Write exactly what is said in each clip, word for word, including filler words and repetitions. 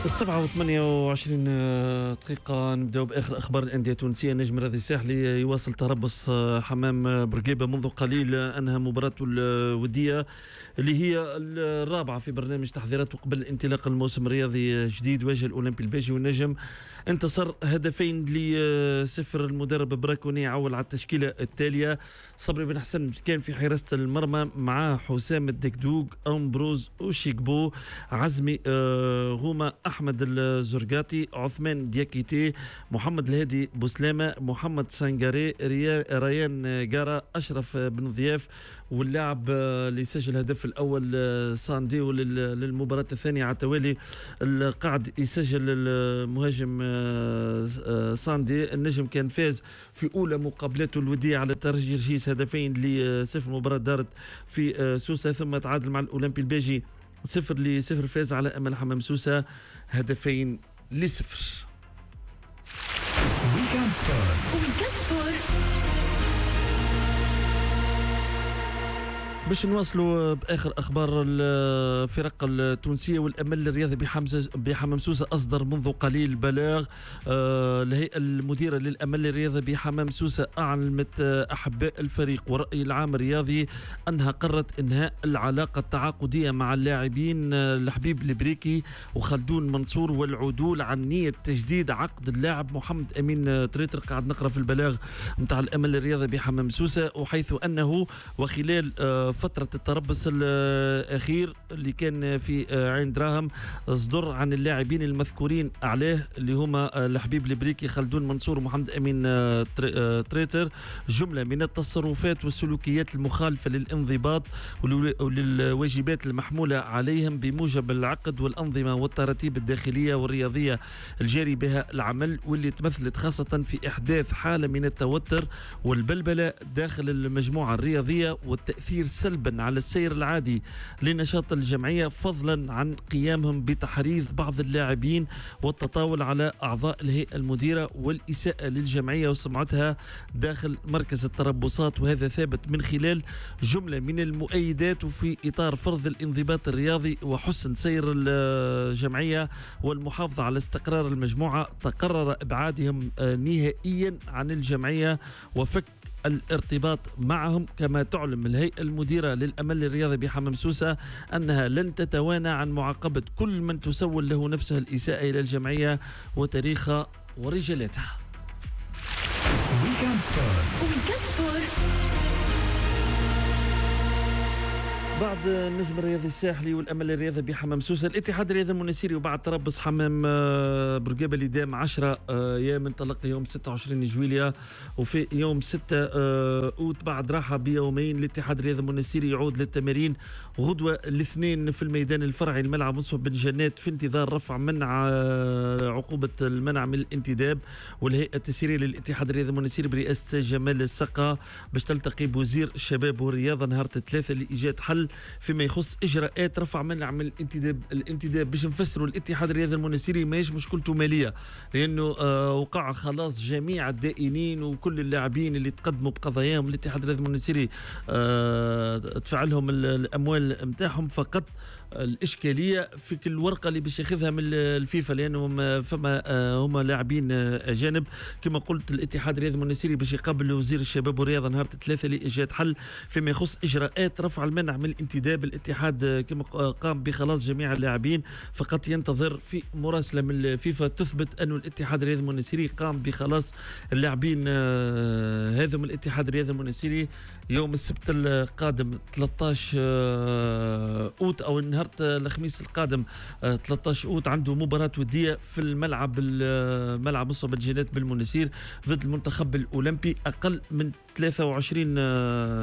السبعة وثمانية وعشرين دقيقة، نبدأ بآخر أخبار الأندية التونسية. النجم الرياضي الساحلي يواصل تربص حمام بورقيبة منذ قليل، أنهى مباراته الودية اللي هي الرابعة في برنامج تحضيراته قبل انطلاق الموسم الرياضي الجديد. واجه الأولمبي الباجي والنجم انتصر هدفين لصفر. المدرب براكوني عول على التشكيلة التالية: صبري بن حسن كان في حراسة المرمى، مع حسام الدكدوق، أمبروز أوشيكبو، عزمي غومة، أحمد الزرقاتي، عثمان دياكيتي، محمد الهادي بوسلامة، محمد سانغاري، ريان جارا، أشرف بن ضياف، واللاعب اللي سجل الهدف الأول سانديو للمباراة الثانية على التوالي القاعد يسجل المهاجم ساندي. النجم كان فاز في أولى مقابلاته الودية على ترجي رجيس هدفين لصفر، مباراة دارت في سوسة، ثم تعادل مع الأولمبي الباجي صفر لصفر، فاز على أمل حمام سوسة هدفين لصفر. Weekend Sport. Weekend Sport. باش نواصلوا باخر اخبار الفرق التونسية، والامل الرياضي بحمام سوسة اصدر منذ قليل بلاغ. الهيئة المديرة للامل الرياضي بحمام سوسة اعلمت احباء الفريق والراي العام الرياضي انها قررت انهاء العلاقة التعاقديه مع اللاعبين الحبيب البريكي وخلدون منصور والعدول عن نيه تجديد عقد اللاعب محمد امين تريتر. قاعد نقرا في البلاغ نتاع الامل الرياضي بحمام سوسة، وحيث انه وخلال فترة التربص الأخير اللي كان في عين دراهم صدر عن اللاعبين المذكورين عليه اللي هما الحبيب البريكي، خلدون منصور، ومحمد أمين تريتر جملة من التصرفات والسلوكيات المخالفة للانضباط وللواجبات المحمولة عليهم بموجب العقد والأنظمة والتراتيب الداخلية والرياضية الجاري بها العمل، واللي تمثلت خاصة في إحداث حالة من التوتر والبلبلة داخل المجموعة الرياضية والتأثير سلبا على السير العادي لنشاط الجمعية، فضلا عن قيامهم بتحريض بعض اللاعبين والتطاول على أعضاء الهيئة المديرة والإساءة للجمعية وسمعتها داخل مركز التربصات، وهذا ثابت من خلال جملة من المؤيدات. وفي إطار فرض الانضباط الرياضي وحسن سير الجمعية والمحافظة على استقرار المجموعة، تقرر إبعادهم نهائيا عن الجمعية وفك الارتباط معهم. كما تعلم الهيئة المديرة للأمل الرياضي بحمام سوسة أنها لن تتوانى عن معاقبة كل من تسول له نفسه الإساءة إلى الجمعية وتاريخها ورجالاتها. Weekend Sport. Weekend Sport. بعد النجم الرياضي الساحلي والامل الرياضي بحمام سوسة، الاتحاد الرياضي المنستيري وبعد تربص حمام بورقيبة اللي دام عشرة ايام انطلق يوم ستة وعشرين جويليا، وفي يوم ستة اوت بعد راحة بيومين الاتحاد الرياضي المنستيري يعود للتمارين غدوه الاثنين في الميدان الفرعي الملعب مصطفى بن جنات، في انتظار رفع منع عقوبه المنع من الانتداب. والهيئة التسييريه للاتحاد الرياضي المنستيري برئاسة جمال السقا باش تلتقي بوزير الشباب والرياضة نهار الثلاثاء لايجاد حل فيما يخص اجراءات رفع منع من الانتداب. الانتداب باش نفسروا الاتحاد الرياضي المنستيري ماهيش مشكلته ماليه، لانه آه وقع خلاص جميع الدائنين وكل اللاعبين اللي تقدموا بقضاياهم الاتحاد الرياضي المنستيري آه دفع لهم الاموال نتاعهم. فقط الاشكالية في كل ورقة اللي باش ياخذها من الفيفا، لانهم فما هما لاعبين اجانب. كما قلت الاتحاد الرياضي المنستيري باش يقابل وزير الشباب والرياضة نهار الثلاثاء لايجاد حل فيما يخص اجراءات رفع المنع من الانتداب. الاتحاد كما قام بخلاص جميع اللاعبين، فقط ينتظر في مراسله من الفيفا تثبت أن الاتحاد الرياضي المنستيري قام بخلاص اللاعبين هذا من الاتحاد الرياضي المنستيري يوم السبت القادم ثلاثة عشر اوت او نهار الخميس القادم ثلاثة عشر اوت عنده مباراة ودية في الملعب الملعب مصطفى بن جنات بالمنستير ضد المنتخب الأولمبي أقل من ثلاثة وعشرين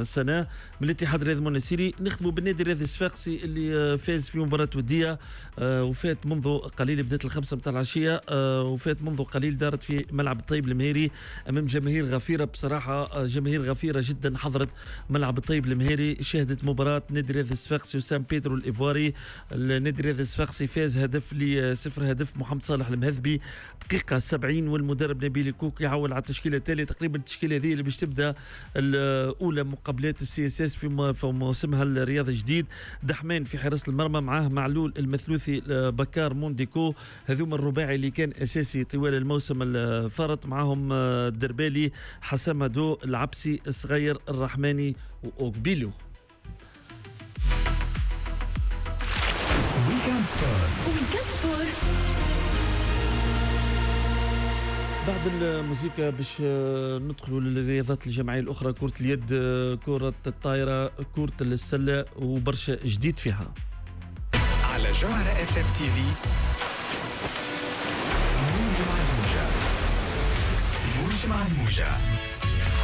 سنة من الاتحاد الرياضي المنستيري. نختموا بالنادي الرياضي الصفاقسي اللي فاز في مباراة ودية وفات منذ قليل، بدات الخمسة متاع العشية وفات منذ قليل، دارت في ملعب الطيب المهيري أمام جماهير غفيرة. بصراحة جماهير غفيرة جدا حضرت ملعب الطيب المهيري، شهدت مباراة نادي الرياضي الصفاقسي وسان بيترو الإيفواري. التونسي. النادي الرياضي الصفاقسي فاز هدف لصفر، هدف محمد صالح المهذبي دقيقة سبعين، والمدرب نبيل الكوك يعول على التشكيلة التالية. تقريبا التشكيلة هذه اللي باش تبدا الاولى مقابلات ال CSS في موسمها الرياضي الجديد. دحمان في حراسة المرمى، معاه معلول المثلوثي بكار مونديكو، هذوما الرباعي اللي كان اساسي طوال الموسم الفارط، معاهم الدربالي حسامدو العبسي الصغير الرحماني واوكبيلو. Weekend Sport. Weekend Sport. بعد الموسيقى باش ندخلوا للرياضات الجماعية الأخرى، كرة اليد، كرة الطائرة، كرة السلة، وبرشا جديد فيها على جوهرة FM TV. موج مع الموجة، موج مع الموجة.